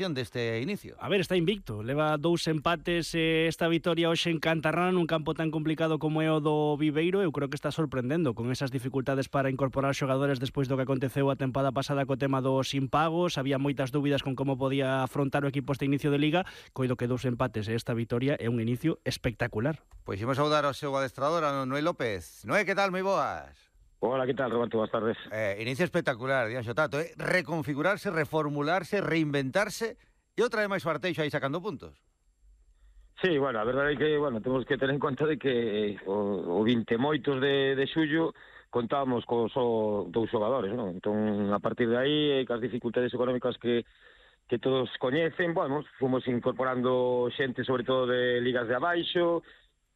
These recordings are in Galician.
deste inicio. A ver, está invicto, leva 2 empates, esta vitoria hoxe en Cantarrana nun campo tan complicado como é o do Viveiro. Eu creo que está sorprendendo con esas dificultades para incorporar xogadores despois do que aconteceu a tempada pasada co tema dos impagos. Había moitas dúbidas con como podía afrontar o equipo este inicio de Liga. Coido que 2 empates e esta vitoria é un inicio espectacular. Pois imos saudar ao seu adestrador, a Noé López. Noé, que tal? Moi boas. Hola, ¿qué tal, Roberto? Buenas tardes. Inicio espectacular, Dianxo Tato. Reconfigurarse, reformularse, reinventarse e outra vez máis o Arteixo aí sacando puntos. Sí, bueno, a verdade é que, bueno, temos que ter en conta de que o 28 de xullo contábamos con só 2 xogadores, non? Entón, a partir de aí, cas dificultades económicas que todos coñecen, bueno, fomos incorporando xente, sobre todo de ligas de abaixo,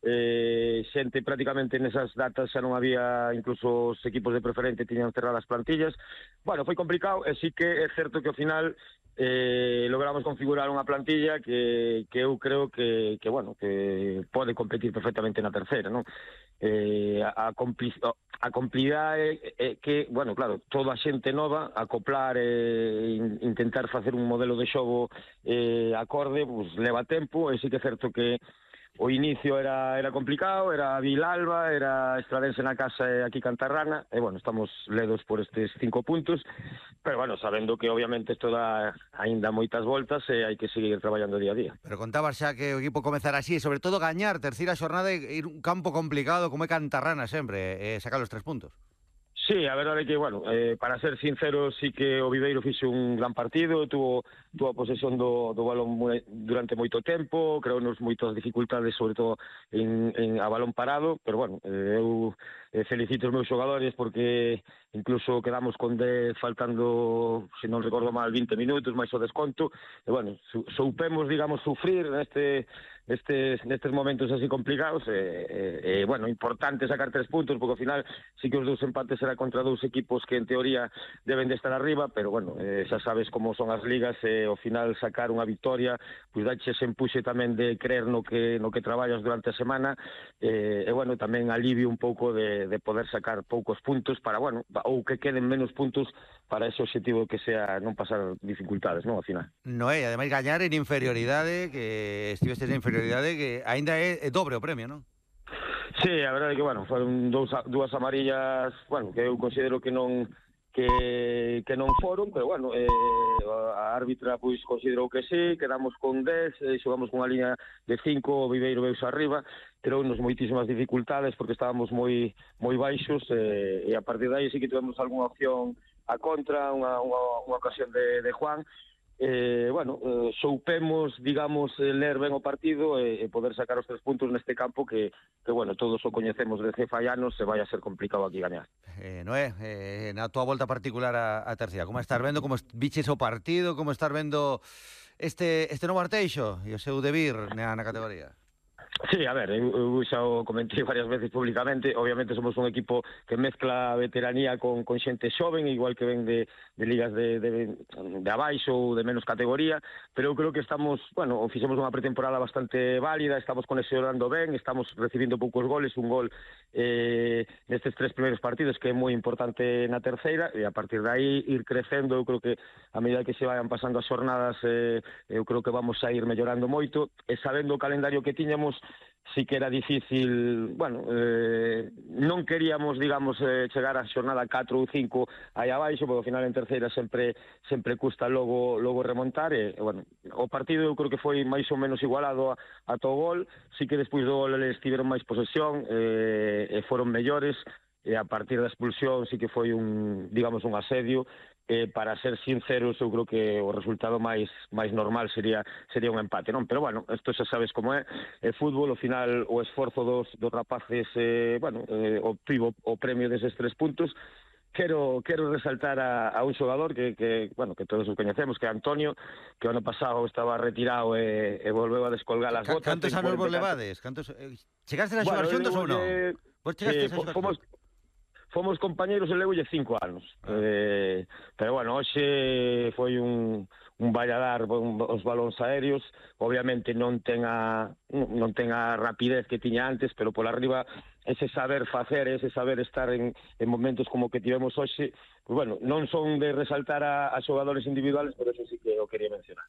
xente prácticamente nesas datas xa non había, incluso os equipos de preferente tiñan cerradas plantillas. Bueno, foi complicado, e sí que é certo que ao final logramos configurar unha plantilla que eu creo que bueno, que pode competir perfectamente na terceira, non? A complicidade é que, bueno, claro, toda a xente nova, acoplar e intentar facer un modelo de xogo acorde, pues leva tempo, e sí que é certo que o inicio era complicado, era Vilalba, era Estradense na casa e aquí Cantarrana, e bueno, estamos ledos por estes 5 puntos, pero bueno, sabendo que obviamente isto dá aínda moitas voltas e hai que seguir traballando día a día. Pero contabas xa que o equipo comezara así, e sobre todo gañar terceira xornada e ir un campo complicado como é Cantarrana sempre, sacar os 3 puntos. Sí, a verdade é que, bueno, para ser sincero, sí que o Viveiro fixe un gran partido, tuvo a posesión do balón durante moito tempo, creounos moitas dificultades, sobre todo a balón parado, pero, bueno, eu felicito os meus xogadores porque incluso quedamos con 10 faltando, se non recordo mal, 20 minutos, máis o desconto, e, bueno, soupemos, digamos, sufrir nestes momentos así complicados, bueno, importante sacar 3 puntos, porque ao final sí que os 2 empates era contra 2 equipos que en teoría deben de estar arriba, pero bueno, xa sabes como son as ligas, e ao final sacar unha victoria, pois dache ese empuxe tamén de creer no que traballas durante a semana, e bueno, tamén alivio un pouco de poder sacar poucos puntos para, bueno, ou que queden menos puntos para ese objetivo que sea non pasar dificultades, non, ao final. Noé, ademais gañar en inferioridade, que estivestes en inferioridade, que aínda é dobre o premio, non? Sí, a verdade é que, bueno, foron dúas amarillas, bueno, que eu considero que non foron, pero, bueno, a árbitra, pois, considerou que sí, quedamos con 10, xogamos con unha liña de 5, o Viveiro veus arriba, terounos moitísimas dificultades porque estábamos moi baixos, e a partir de aí sí que tivemos algunha opción a contra, unha ocasión de Juan. Bueno, soupemos, digamos, ler ben o partido e poder sacar os 3 puntos neste campo que bueno, todos o coñecemos de cefallanos, se vai a ser complicado aquí gañar. Noé, na tua volta particular a terceira, como estás vendo, como viches o partido, como estás vendo este novo Arteixo e o seu debir na categoría? Sí, a ver, eu xa o comentei varias veces públicamente, obviamente somos un equipo que mezcla veteranía con xente xoven, igual que ven de ligas de abaixo ou de menos categoría, pero eu creo que estamos, bueno, fixemos unha pretemporada bastante válida, estamos conexionando ben, estamos recibindo poucos goles, un gol nestes 3 primeiros partidos que é moi importante na terceira, e a partir de aí ir crecendo. Eu creo que a medida que se vayan pasando as xornadas, eu creo que vamos a ir mellorando moito, e sabendo o calendario que tiñamos, sí que era difícil, bueno, non queríamos, digamos, chegar a xornada 4 ou 5 aí abaixo, porque ao final en terceira sempre custa logo remontar, e, bueno, o partido eu creo que foi máis ou menos igualado ata o gol, sí que despois do gol eles tiveron máis posesión, e foron mellores, e a partir da expulsión sí que foi un asedio. Para ser sinceros, eu creo que o resultado máis normal sería un empate, non? Pero, bueno, isto xa sabes como é fútbol, ao final o esforzo dos rapaces, bueno, obtivo o premio deses 3 puntos. Quero resaltar a un xogador que bueno, que todos os coñecemos, que é Antonio, que o ano pasado estaba retirado e volveu a descolgar as botas. Cantos anos vos levades? Chegaste a xogar xuntos ou non? Vos chegaste a xogar xuntos? Fomos compañeiros e levoulle 5 anos. Pero, bueno, hoxe foi un valladar os balóns aéreos. Obviamente non ten a rapidez que tiña antes, pero pola arriba ese saber facer, ese saber estar en momentos como que tivemos hoxe, pues, bueno, non son de resaltar a xogadores individuales, pero eso sí que o quería mencionar.